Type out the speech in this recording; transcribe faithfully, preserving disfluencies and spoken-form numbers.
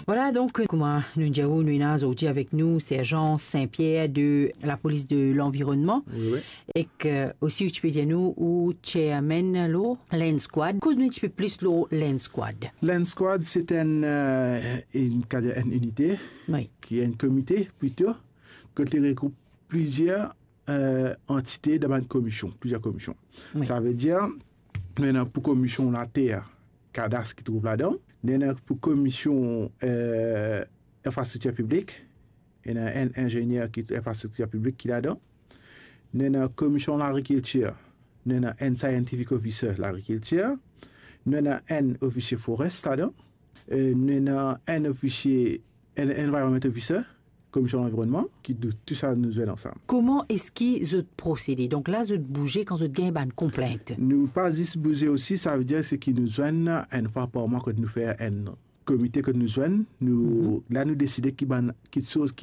Vwala, donk, kouma nou dir ou, nou ena zordi avek nou Serjan Saint-Pierre de lapolis de lanvironnman. Wi, wi. Ek, euh, osi, ou ti pe dir nou, ou chairman lor Land Squad. Koz nou enn tipe plis lor Land Squad. Land Squad, se enn, euh, enn, kadir, enn inite, wi, ki enn komite, plito, kot li regroup plizier, euh, antite dan bann komisyon, plizier komisyon. Wi. Savedir, nou ena pou komisyon later, kadas ki trouv ladan, nou ena pou komisyon, euh, infrastriktir piblik, ena enn inzenier ki infrastriktir piblik ki ladan, nou ena komisyon lagrikiltir, nou ena enn scientific officer lagrikiltir, nou ena enn ofisie forest ladan, e nou ena enn ofisie, enn environment officer, komisyon lanvironnman, ki tou, tou sa nou zwenn ansam. Kouma eski zot prosede? Donk la, zot bouze kan zot gagn bann konplint? Nou pa zis bouze osi, savedir se ki nou zwenn enn fwa par mwa kot nou fer enn komite kot nou zwenn, nou, mhm, la nou deside ki bann, kiksoz ki